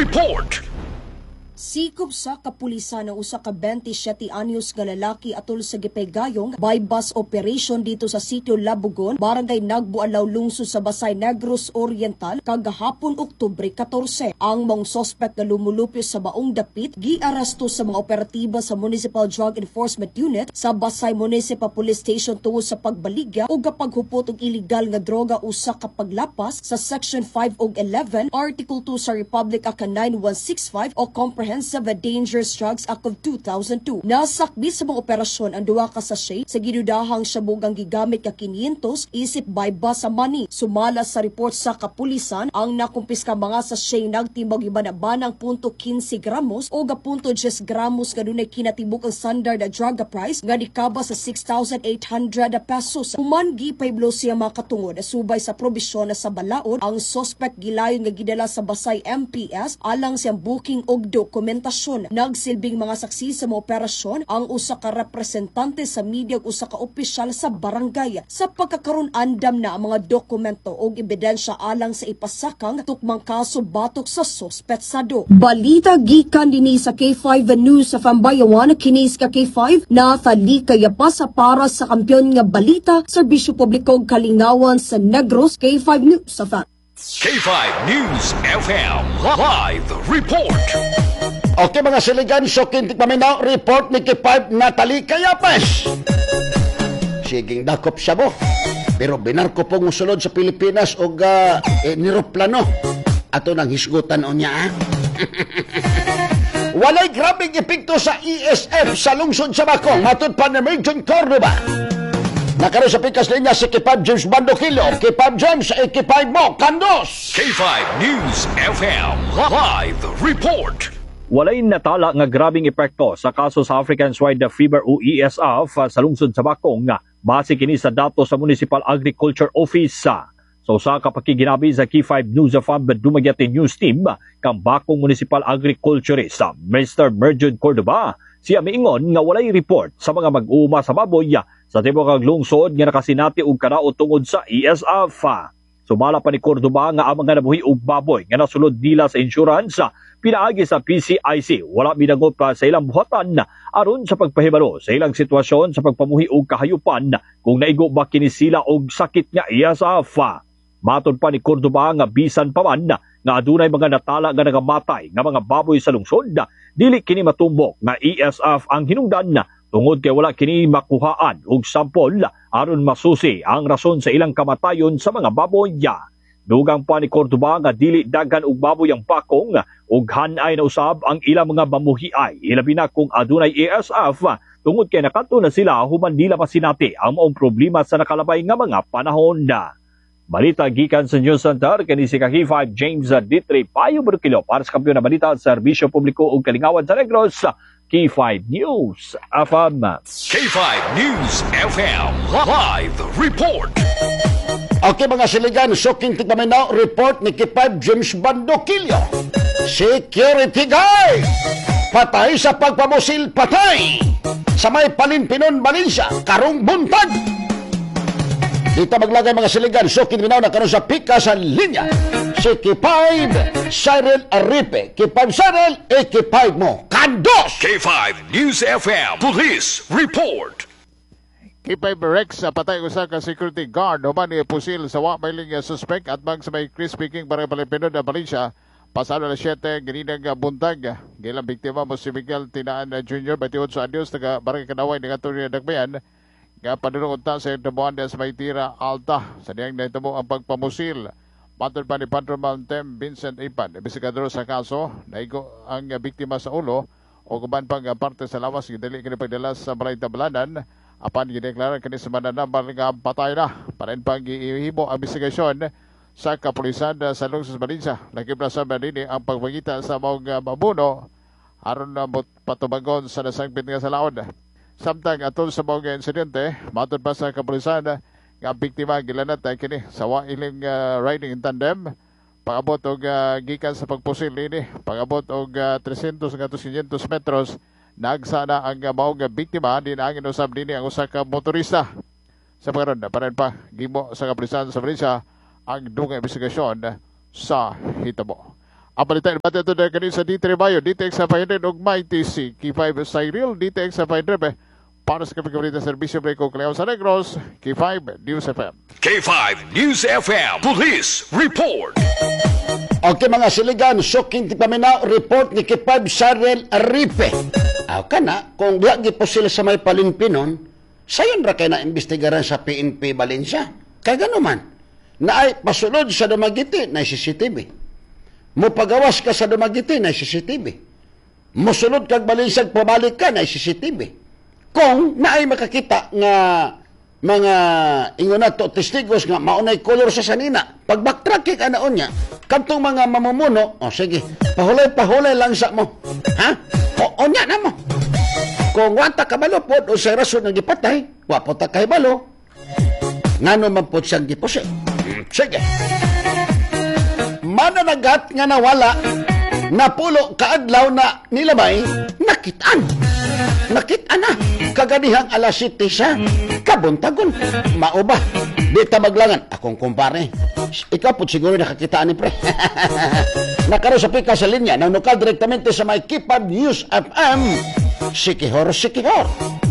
Report. Sikop sa kapulisan ang usa ka 27 anyos nga lalaki atol sa gipegayong by bus operation dito sa sitio Labugon, Barangay Nagbualaw, lungsod sa Basay, Negros Oriental kagahapon, Oktubre 14. Ang maong sospek nga lumulupyo sa maong dapit giaresto sa mga operatiba sa Municipal Drug Enforcement Unit sa Basay Municipal Police Station tungod sa pagbaligya o paghupot og illegal nga droga, usa ka paglapas sa Section 5 ug 11, Article 2 sa Republic Act 9165 o Comprehensive Dangerous Drugs Act of 2002. Nasakbi sa mga operasyon ang duha ka sachet sa gidudahang shabugang gigamit ka 500 isip buy bust sa money. Sumala sa report sa kapulisan, ang nakumpiska mga sachet nagtimbag iban-banang .15 gramos o .10 gramos nga dunay kinatibuk ang standard drug price nga nikaba sa 6,800 pesos. Human gipahibalo siya mga katungod subay sa probisyon na sa balaod, ang suspect gilayon nga gidala sa Basay MPS alang siyang booking og dokumentasyon. Nagsilbing mga saksi sa mga operasyon ang usa ka representante sa media ug usa ka opisyal sa barangay. Sa pagkakaron, andam na ang mga dokumento og ebidensya alang sa ipasakang tukmang kaso batok sa sospetsado. Balita gikan dinhi sa K5 News sa Fambayawan, kini ka K5 Nathalie Kayapasa para sa kampiyon nga balita, serbisyo publiko ug kalingawan sa Negros, K5 News sa Fam. K5 News FM Live Report. Okay, mga siligan, so kintik paminaw, report ni K5 Natalie Cayapes. Siging dakop siya mo. Pero binarko pong musulod sa Pilipinas og niroplano. Ato nang hisgutan o niya. Ah? Walay grabeng epekto sa ESF sa lungsod sa Bacong. Matod pa ni Merjon Cordoba. Nakaroon sa pikas linya si K5 James Bandokilo. K5 James, K5 mo, Kandos! K5 News FM Live Report. Walay natala nga grabing epekto sa kaso sa African Swine Fever o ESF sa lungsod sa Bacong base kini sa dato sa Municipal Agriculture Office. Sa usa ka pakiginabi sa K5 News FM Dumaguete News Team kang Bacong Municipal Agriculturist Mr. Merjun Cordoba, siya miingon nga walay report sa mga mag-uuma sa baboy sa tibuok kag lungsod nga nakasinati og kadaot tungod sa ESF. Sumala pa ni Cordoba nga ang mga nabuhi og baboy nga nasulod nila sa insurance pinaagi sa PCIC wala midangop pa sa ilang buhatan aron sa pagpahibalo sa ilang sitwasyon sa pagpamuhi og kahayupan kung naigo ba kini sila og sakit nga ESF. Matod pa ni Cordoba nga bisan pa man nga adunay mga natala nga nagamatay nga mga baboy sa lungsod, dili kini matumbok nga ESF ang hinungdan tungod kay wala kini makuhaan og sampol aron masusi ang rason sa ilang kamatayon sa mga baboy. Dugang pa ni Cordoba nga dili daghan og baboy ang Bacong ug hanay na usab ang ilang mga mamuhiay, ilabi na kung adunay ESF, tungod kay nakadto na sila human nila masinati ang maong problema sa nakalabay nga mga panahon na. Balita gikan sa News Center, kini si K5 James Ditre Payo Burkilo para sa kampiyon na balita, serbisyo publiko ug kalingawan sa Negros, K5 News FM. K5 News FM Live Report. Okay, mga siligan, so kintik paminaw, report ni K5 James Bandokilio. Security guy! Patay sa pagpamusil, patay! Sa may Palinpinon, Valencia, karong buntag! Dito maglagay, mga siligan, so kinminaw na karon sa pika sa linya. Si K5 Cyril Aripe. K5 Cyril, e K5 mo. Kandos! K5 News FM Police Report. K5 Rex sa patay usa ka security guard human ni pusil sa wa may linya suspect at bang sa may Crispy King, Barangay Palinpinon, Valencia, pasado alas 7 ganinang buntag. Gilang biktima mo si Miguel Tinaan Jr., 28 anyos, taga Barangay Kanaway, ngadto niya Dagbayan nga padulong unta sa damuhan sa may Tira Alta sa diyang nahitabo ang pagpamusil. Matod pa ni Patrolman Tem Vincent Ipan, investigador sa kaso, naigo ang biktima sa ulo o uban pang parte sa lawas, gidali kini pagdala sa balay tablanan apan gideklara kini sa mananambal nga patay na. Padayon pang gihimo ang investigasyon sa kapulisan sa lungsod sa Valencia. Lakip na sa dinhi ang pagpangita sa maong mabuno aron na patubagon sa nasangpit nga salaon. Samtang atol sa maong insidente, matod pa sa kapulisan nga ang biktima gilanat kini sa wa iling riding in tandem pag-abot og gikan sa pagpusil ini, pag-abot og 300 ngadto 500 metros, nagsana ang maong biktima. Dinaangin usab dinhi ang usa ka motorista. Sa pagkaron, padayon pa gimo sa kapulisan sa Valencia ang dungang investigasyon sa hitabo. Ang balita nabati ito na kanin sa D3 Mayo, DTX 500 ug Mighty C, K5 Cyril, DTX 500 para sa kapig kabalita serbisyo Breko Cleo sa Negros, K5 News FM. K5 News FM Police Report. Okay mga siligan, suking ti paminaw, report ni K5 Cyril Aripe. Aw ka na, kung diha gipusil sa may palinpinon, sayon ra kay na imbestigaran sa PNP Valencia. Kay ganoman, naay pasulod sa Dumaguete na CCTV. Mupagawas ka sa Dumaguete na CCTV. Musulod kag Valencia, pabalik ka na CCTV. Kung naay makakita nga mga ingon nato testigos nga maunay kolor sa sanina, pag backtrack ka naon niya kadtong mga mamumuno, oh sige, pahulay-pahulay lang sa mo, ha, o nya na mo kung wata kabalo pod o sa rason nga gipatay, wa po ta kahibalo ngano man pod siyang gipuse. Sige, mananagat nga nawala napulo kaadlaw na nilabay, nakitaan na kaganihang alas 7 sa kabuntagon. Mao ba? Di ta maglangan. Akong kumpare. Ikaw po siguro nakakita ni pre. Nakaroon sa pika sa linya. Nanukal direktamente sa may K5 News FM. Sikihor, Sikihor.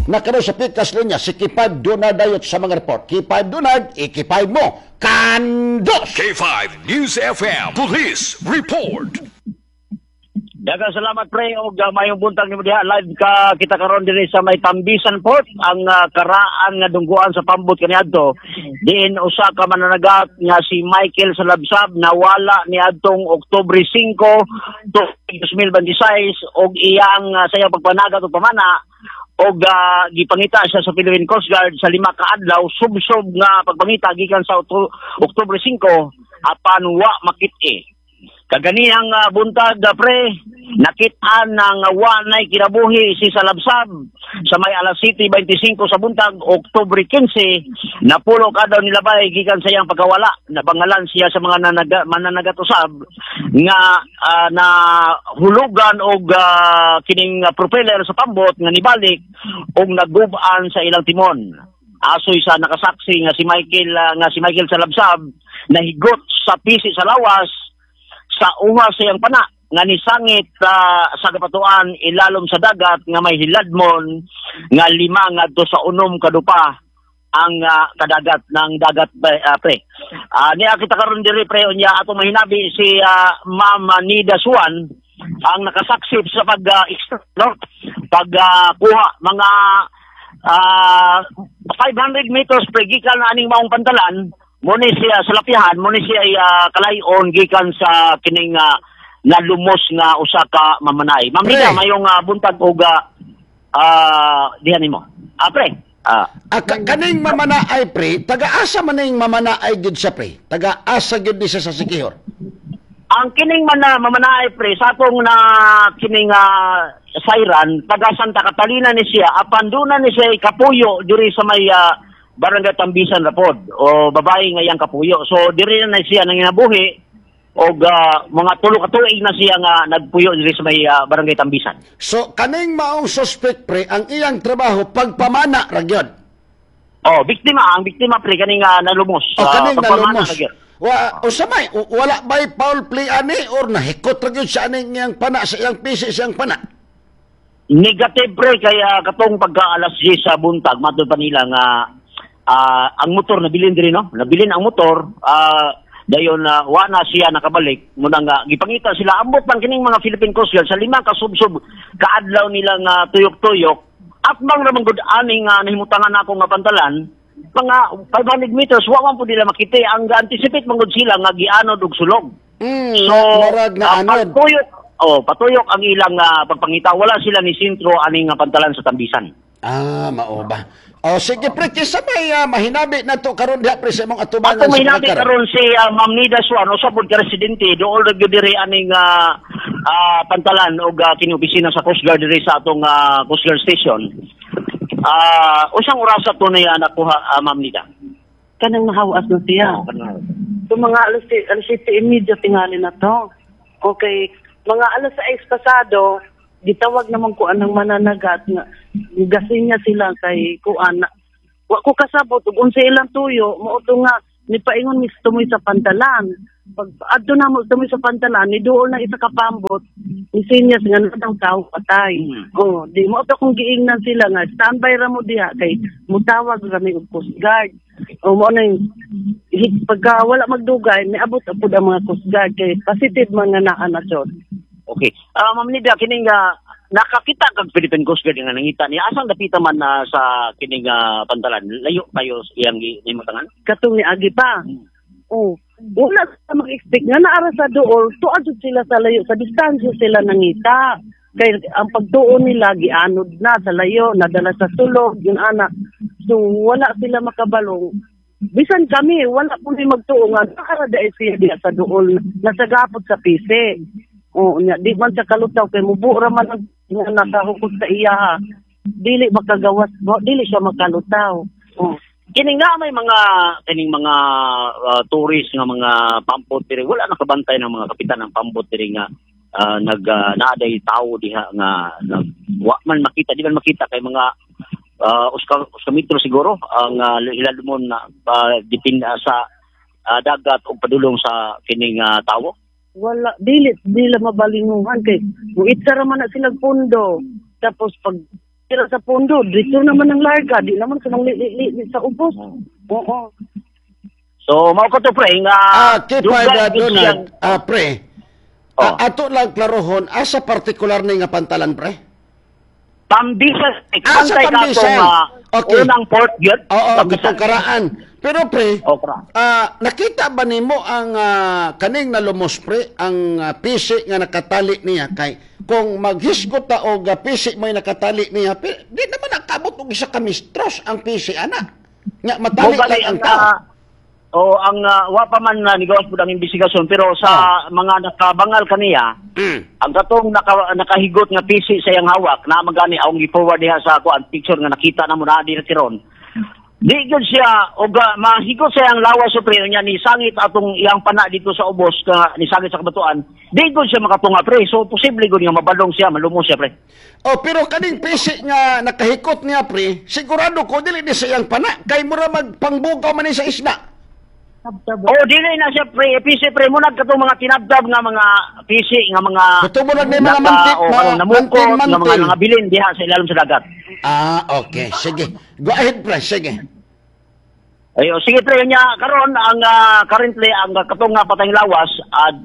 Nakaroon sa pika sa linya. Si K5 Donard dayot sa mga report. K5 Donard, i-K5 mo. Kandos! K5 News FM Police Report. Daghang salamat pre og mayong buntag nimo diha live ka kita karon dinhi sa may Tambisan Port ang karaan nga dungguan sa pambot kaniadto diin usa ka mananagat nga si Michael Salabsab nawala niadtong Oktubre 5, 2026 og iyang sa iyang pagpanagat og pamana og gipangita siya sa Philippine Coast Guard sa 5 ka adlaw subsob nga pagpangita gikan sa Oktubre 5 apan wa makit-i. Kaganihang buntag pre, nakitaan ng wanay kinabuhi si Salabsab sa may alas 7:25 sa buntag, Oktubre 15, napulo ka daw nilabay gikan sa iyang pagkawala. Nabangalan siya sa mga mananagat usab nga na hulugan og kining propeller sa pambot nga nibalik og nagub-an sa ilang timon. Asoy sa nakasaksi nga si Michael Salabsab nahigot sa pisi sa lawas sa uha sa iyang pana nga nisangit sa kapatuan ilalom sa dagat nga may hiladmon nga 5 ngadto sa 6 kadupa ang kadagat ng dagat pre. Niya kita karon diri pre unya atong mahinabi si Ma'am Nida Suan ang nakasaksip sa pag no pag kuha mga 500 meters pre gikan na aning maong pantalan. Muna siya sa lapihan, muna siya kalayon gikan sa kining nalumos nga usa ka mamanay. Ma'am Nida, mayong buntag og diha nimo. Pre. Kaning mamanaay pre, taga-asa man ning mamanaay gyud sa pre. Taga-asa gyud ni siya sa Sikihor. Ang kining mamanaay pre, sa atong na kining sayran, taga Santa Catalina ni siya, apan duna ni siya kapuyo diri sa may Barangay Tambisan rapod o babae nga iyang kapuyo. So diri na siya nanginabuhi og mga tulo ka tuig na siya nga nagpuyo diri sa may Barangay Tambisan. So kaning maong suspect pre, ang iyang trabaho pagpamana ra gyud. Oh, biktima, ang biktima pre kaning nalumos. O kaning nalumos. Wa usa may wala bay foul play ani or nahikot ra gyud sa aning iyang pana sa iyang pisi sa iyang pana. Negative pre kaya katong pagka alas 10 sa buntag matud pa nila nga ang motor nabilin diri no, nabilin ang motor dayon wa na siya nakabalik muna nga gipangita sila ambot man kining mga Philippine Coast Guard sa 5 ka subsob kaadlaw nila nga tuyok-tuyok at bang ra man gud aning nahimutangan nako nga pantalan mga 500 meters wa man pud nila makita ang anticipate man gud sila nga gianod og sulog. So murag na anod patuyok, patuyok ang ilang pagpangita, wala sila ni sentro aning pantalan sa Tambisan. Mao ba? O sige pre, kisa may mahinabi na to karon diha pre sa imong atubangan. Ato mahinabi karon si Ma'am Nida Suan, usa pud ka residente dool ra gyud diri aning pantalan og kini opisina sa Coast Guard diri sa atong Coast Guard station. Usang orasa to niya nakuha Ma'am Nida? Kanang nahawas na siya. So mga alas 7:30 tingali na to. Okay, mga alas 6 pasado gitawag naman ko anang mananagat nga gasin niya sila kay kuan. Wa ko kasabot ug unsa ilang tuyo mao to nga nipaingon mis tumoy sa pantalan. Pag adto na mo dumi sa pantalan, ni duol na isa ka pambot, ni sinyas nga na daw tao patay. Oh, di mo ato kung giingnan sila nga standby ra mo diha kay mutawag ra mi og Coast Guard. O mo na yung pagka wala magdugay, niabot apod ang mga Coast Guard kay positive man nga naa na jud. Okay. Ma'am Nida, kining nakakita kag Philippine Coast Guard nga nangita niya. Asang dapita man na sa kining pantalan? Layo kayo iyang gimutangan? Katong ni agi pa. Oh, wala sa mag-expect nga naara sa dool, tuad jud sila sa layo, sa distansya sila nangita. Kay ang pagtuon nila gianod na sa layo, nadala sa sulog, yun ana. So wala sila makabalong. Bisan kami, wala po ni magtuo nga naara dahil siya diha sa dool, nasagapot sa pisi. Oo, nya di man siya kalutaw kay mubuo ra man ang nga nakahukot sa iya ha. Dili makagawas, dili siya makalutaw. Oh. Kini nga may mga kining mga tourist nga mga pampot diri, wala nakabantay ng mga kapitan ng pambot diri nga nag naaday tawo diha nga nag, wa man makita, di man makita kay mga uska metro siguro ang hilalumon na dipin sa dagat og padulong sa kining tawo. Wala, dili dili mabalinguhan kay muitsa ra man na sila pundo. Tapos pag tira sa pundo, dito naman ang larga, di naman sa li, li, li, sa ubos. Oo. So mao ko to, pre, nga K5 dugay gid Donald, siyang pre. Oh. Ato lang klarohon, asa partikular ni nga pantalan, pre? Tambisan. Ah, sa Bantay ka Tambisan. atong unang port yun. Oo, Tambisan. katong karaan. Pero pre, Oh, karaan. Nakita ba nimo ang kaning nalumos, pre, ang pisi nga nakatali niya kay kung maghisgot ta og pisi may nakatali niya, di naman nakabot og isa ka mistros ang pisi ana. Nga matali Mo gali lang ang tao. O ang wa pa man na nigawas pud ang investigasyon, pero sa mga nakabangal kaniya, ang katong nakahigot nga pisi sa iyang hawak na magani ang gi-forward diha sa ako ang picture nga nakita na mo na diri karon. Di gyud siya og mahigot sa iyang lawas o pre niya ni sangit atong iyang pana dito sa ubos nga ni sangit sa kabatuan. Di gyud siya makatunga, pre. So posible gyud nga mabalong siya, malumos siya, pre. Oh, pero kaning pisi nga nakahikot niya, pre, sigurado ko dili ni sa iyang pana kay mura magpangbugaw man ni sa isda. Oh, dili na siya, pre, PC, pre, mo katong mga tinabdab nga mga PC nga mga Kato mo lang ni mga manti, o mga kanang namukot nga mga mantin-mantin. mga bilin diha sa ilalim sa dagat. Ah, okay. Sige. Go ahead, pre. Sige. Ayo, sige pre, nya karon ang currently ang katong nga patayng lawas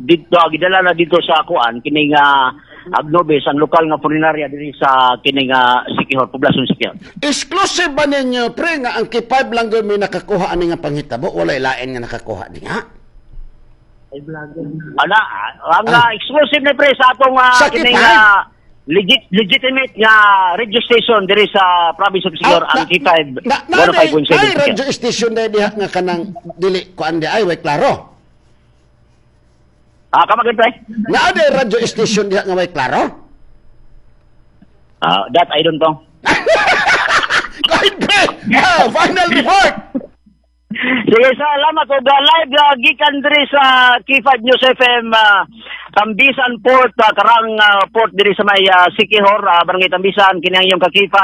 dito gidala na dito sa kuan kining Agnobes, ang lokal nga punerarya diri sa kining Siquijor, poblasyon Siquijor. Exclusive ba ninyo, pre, nga ang K5 lang gyud may nakakuha ani nga panghitabo? Walay lain nga nakakuha niya? Ana, ang exclusive ni pre sa atong Sa kining K5? Legitimate nga radio station diri sa province of Siquijor, ang K5 Na, 105.7. ay, radio station na diha nga kanang dili kuan di ay way klaro. Ah, kamagin, pre? Na ay radio station diha nga way klaro? Ah, that I don't know. Go ahead, pre. Final report. Sige, salamat og live gikan diri sa K5 News FM, Tambisan Port, karang port diri sa may Siquijor, Barangay Tambisan. Kini ang iyong ka K5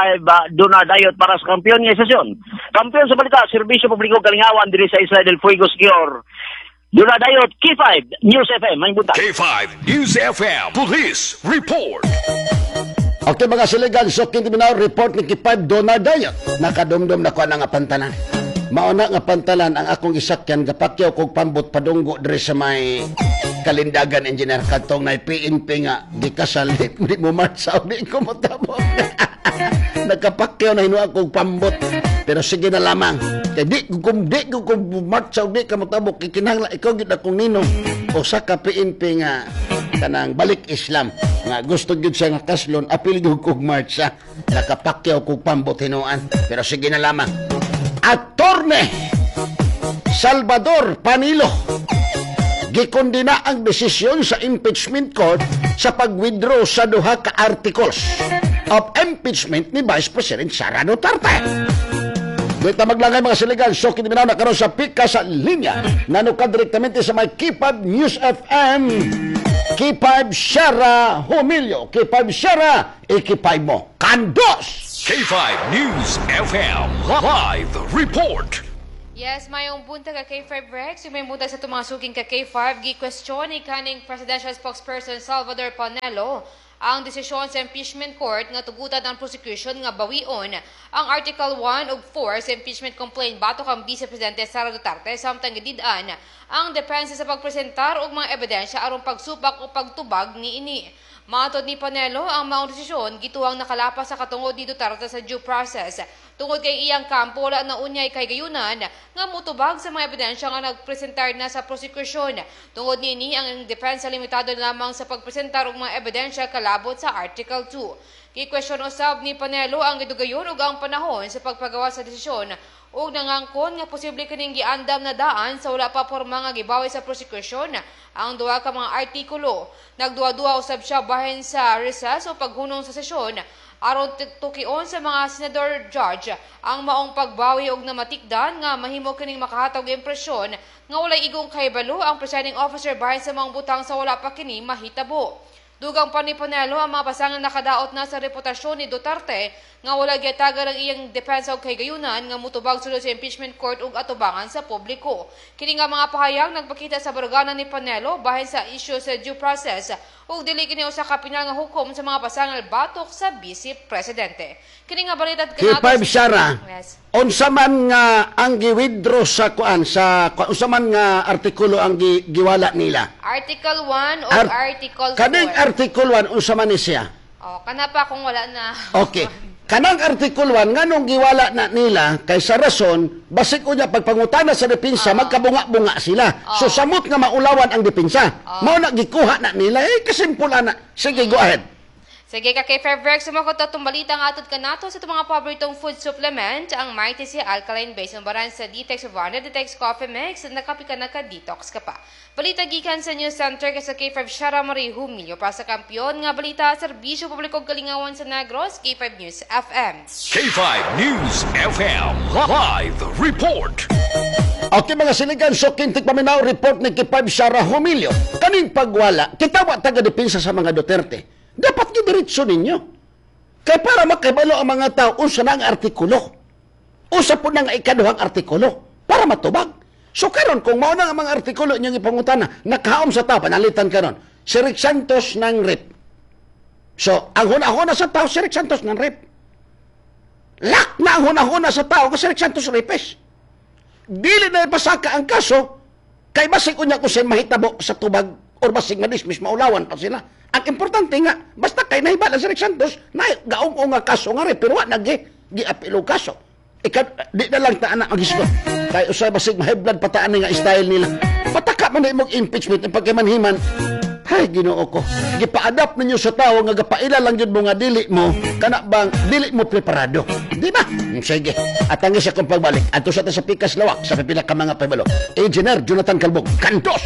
Duna Dayot para sa kampeon nga estasyon. Kampeon sa balita, serbisyo publiko, kalingawan diri sa Isla del Fuego, Siquijor. Duna Dayot, K5 News FM. May buntag. K5 News FM Police Report. Okay mga siligan, so kini report ni K5 Donald Dayot. Nakadumdum na ko ana nga pantalan. Mauna nga pantalan ang akong isakyan gapakyaw kog pambot padunggo diri sa may Kalindagan, engineer, katong nay PNP nga gikasal, di mo marsa di ko motabok. Nagkapakyaw na hinuha kog pambot. Pero sige na lamang. Kay di ko marsa di ka motabok kay kinahanglan ikaw gid akong ninong, usa ka PNP nga kanang balik Islam nga gusto gyud siya nga kaslon, apil gyud kog marcha, nakapakyaw kog pambot hinuan, pero sige na lamang. Attorney Salvador Panilo, gikondena ang desisyon sa impeachment court sa pag-withdraw sa duha ka articles of impeachment ni Vice President Sara Duterte. Dito maglangay mga siligan, so kini na karon sa pika sa linya. Nanuka direktamente sa may K5 News FM. K5 Shara Humilyo. K5 Shara, i-K5 mo. Kandos! K5 News FM Live Report. Yes, mayong buntag ka K5 Rex, yung may buntag sa itong mga suking ka K5, gi-question ni kaning presidential spokesperson Salvador Panelo ang desisyon sa impeachment court nga tugutan ang prosecution nga bawion ang Article 1 ug 4 sa impeachment complaint batok ang Vice Presidente Sara Duterte, samtang gidid-an ang depensa sa pagpresentar og mga ebidensya aron pagsupak o pagtubag niini. Matod ni Panelo, ang maong desisyon gituwang nakalapas sa katungod ni Duterte sa due process tungod kay iyang kampo wala na unyay kahigayunan nga mutubag sa mga ebidensya nga nagpresentar na sa prosekusyon. Tungod niini, ang depensa limitado lamang sa pagpresentar og mga ebidensya kalabot sa Article 2. Gi-question usab ni Panelo ang gidugayon ug ang panahon sa pagpagawa sa desisyon ug nangangkon nga posible kining giandam na daan sa wala pa porma nga gibawi sa prosekusyon ang duha ka mga artikulo. Nagduha-duha usab siya bahin sa recess o paghunong sa sesyon aron tukion sa mga senador judge ang maong pagbawi og namatikdan nga mahimo kining makahatag og impresyon nga walay igong kahibalo ang presiding officer bahin sa mga butang sa wala pa kini mahitabo. Dugang pa ni Panelo, ang mga pasangan nakadaot na sa reputasyon ni Duterte nga wala gihatagan ang iyang depensa og kahigayunan nga mutubag sulod sa impeachment court ug atubangan sa publiko. Kini nga mga pahayag nagpakita sa baruganan ni Panelo bahin sa isyu sa due process ug dili kini usa ka pinal nga hukom sa mga pasangal batok sa vice presidente. Kini nga balita at K5 Sara, Yes. Unsa man nga ang gi-withdraw sa kuan sa unsa man nga artikulo ang giwala nila? Article 1 o Article 4. Kaning Article 1, unsa man ni siya? Oh, kana pa kung wala na. Okay. Kanang Article 1, nganong giwala na nila kay sa rason basig unya pagpangutana sa depensa magkabunga-bunga sila. So samot nga maulawan ang depensa. Mao na gikuha na nila, eh kasimple ana. Sige, go ahead. Sige ka kay Fairverk, sumakot atong balita nga atod kanato sa itong mga paboritong food supplement, ang Mighty Sea Alkaline Base, umbaran sa Detox of Warner, Detox Coffee Mix, nakapi ka, naka-detox ka pa. Balita gikan sa News Center kay sa K5 Shara Marie Humilio para sa kampiyon nga balita, serbisyo publiko kalingawan sa Negros, K5 News FM. K5 News FM Live Report. Okay mga siligan, so kintik paminaw report ni K5 Shara Humilio. Kaning pagwala, kita wa taga-depensa sa mga Duterte. Dapat gidiretso ninyo. Kay para makibalo ang mga tao, unsa na ang artikulo. Unsa po na nga ikaduhang artikulo para matubag. So karon kung mao na ang mga artikulo inyong ipangutana, nakaom sa tao, panalitan karon. Si Rick Santos ng rape. So, ang huna-huna sa tao, si Rick Santos ng rape. Lock na ang huna-huna sa tao kasi Rick Santos rapist. Dili na ipasaka ang kaso, kay basig unya kung sa'y mahitabo sa tubag or basig madismiss, maulawan pa sila. Ang importante nga, basta kay nahibala si Rick Santos, na gaong nga kaso nga rin, pero wa nag giapilo kaso. Ika, di na lang taan na magisgo. Kay usay basig ma-high blood pataan nga style nila. Pataka man na imong impeachment, ang pagkamanhiman. Hay, Ginoo ko. Gipa-adapt ninyo sa tao nga gapaila lang yun mo nga dili mo, kana bang dili mo preparado. Di ba? Sige. At ang isa kong pagbalik, ato sa ta sa Pikas Lawak, sa pipila ka mga pabalo. Engineer Jonathan Calbog, Kantos!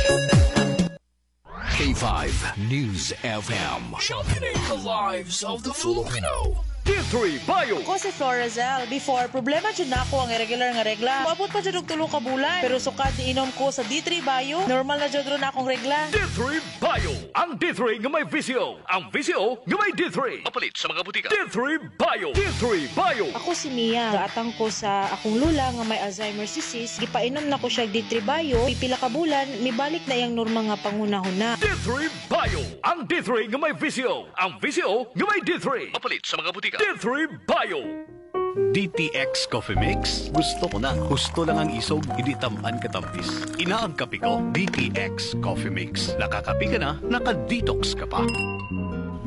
K5 News FM. Championing the lives of the Filipino. D3 Bio. Ako si Florazel. Before, problema jud nako ang irregular nga regla. Moabot pa jud og 3 ka bulan. Pero sukad inom ko sa D3 Bio, normal na jud ron akong regla. D3 Bio. Ang D3 nga may VCO. Ang VCO nga may D3. Mapalit sa mga butika. D3 Bio. D3 Bio. Ako si Mia. Gaatang ko sa akong lula nga may Alzheimer's disease. Gipainom na ko siya D3 Bio. Pipila ka bulan, mibalik na iyang normal nga panghunahuna. D3 Bio. Ang D3 nga may VCO. Ang VCO nga may D3. Mapalit sa mga butika. D3 Bio. DTX Coffee Mix? Gusto ko na. Gusto lang ang isog, hindi tamaan katampis. Ina ang kape ko, DTX Coffee Mix. Nakakape ka na, naka-detox ka pa.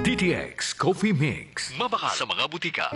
DTX Coffee Mix. Mabakal sa mga butika.